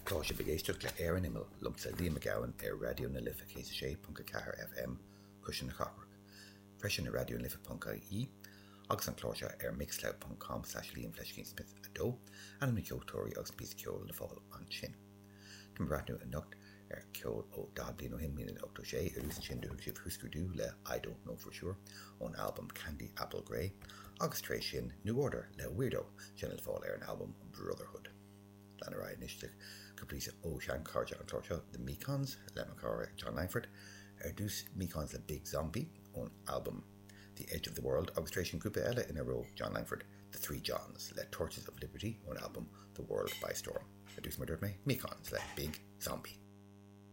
Tá sibh ag éisteacht le Ar an Imeall liomsa Liam Mac Gabhann ar Raidió na Life 106.4 FM, Cuisle na Cathrach. Freisin ar raidionalife.ie agus an clár seo ar mixcloud.com slash liamfleiscínsmith 2, ainm na gceoltóirí agus an píosa ceoil le fáil ansin. Tá mé ag breathnú anocht ar cheol ó 40 bliain ó shin, 1986, ar dtús ansin do chuala sibh Husker Du le I Don't Know For Sure ón albam Candy Apple Grey agus tar éis sin New Order le Weirdo, sin le fáil ar an albam Brotherhood. Lean ar aghaidh anois le cúpla píosa ó sheanchairde an chláir seo, The Mekons, le mo chara Jon Langford. Ar dtús, Mekons le Big Zombie ón albam The Edge of the World agus tar éis sin grúpa eile ina raibh Jon Langford, The Three Johns, le Torches of Liberty ón albam The World by Storm. Ar dtús, mar a dúirt mé, Mekons le Big Zombie.